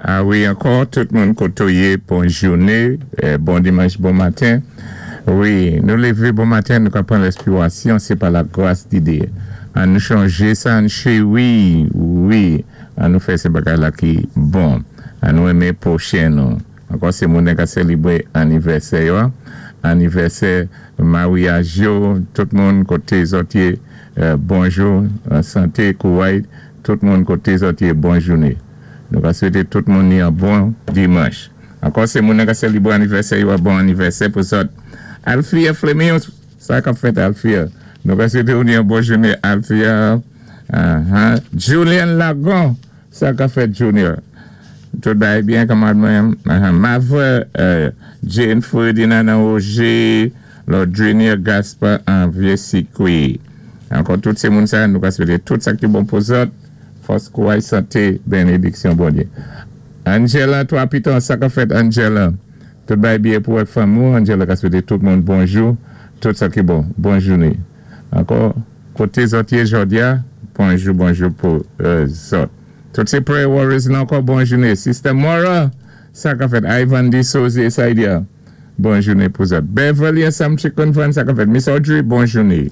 A wi, ankò, tout moun koté ou yé, bon jouné, bon dimanch, bon maten. Wi, nou lévé bon maten, nou ka pran lèspirasyon, sé pa la gras di Diyé. An nou chanjé sa, an chéwi, wi, an nou fè sé bagay la ki bon. An nou enmé pwochen nou. Ankò sé moun ka sélébré anivèsè yo, anivèsè maryaj yo, tout moun koté zòt yé, bonjou, santé, kouray, tout moun koté zòt yé, bon jouné. Nou ka swété tout moun ni yon bon dimanch. Ankò sé moun ka sélébré anivèsè yo, bon anivèsè pou zòt. Alfia Fleming, sa k ap fèt, Alfia? Nou ka swété ou ni yon bon jouné, Alfia. Julian Lagon, sa k ap fèt, Junior? Tout bagay byen, kanmad mwen. Mavre, Jane Ferdinand Roger, Lord Junior Gaspard en Vieux-Sikui. Ankò tout sé moun sa, nou ka swété tout sa ki bon pou zòt. Fòs, kouray, santé, bénédiksyon Bondyé. Angela, toi piton, sa k ap fèt, Angela? Tout bagay byen pou ak fanmi ou, Angela ka swété tout moun bonjou, tout sa ki bon. Bon jouné. Ankò, koté zòt yé jòdi a, bonjou, bonjou pou zòt. Tout sé prayer warriors nan ankò, bon jouné. Sister Mora, sa k ap fèt? Ivan D. Soze, Saidia, bon jouné pou zòt. Beverly Sam Chicken Fan, sa k ap fèt? Miss Audrey, bon jouné.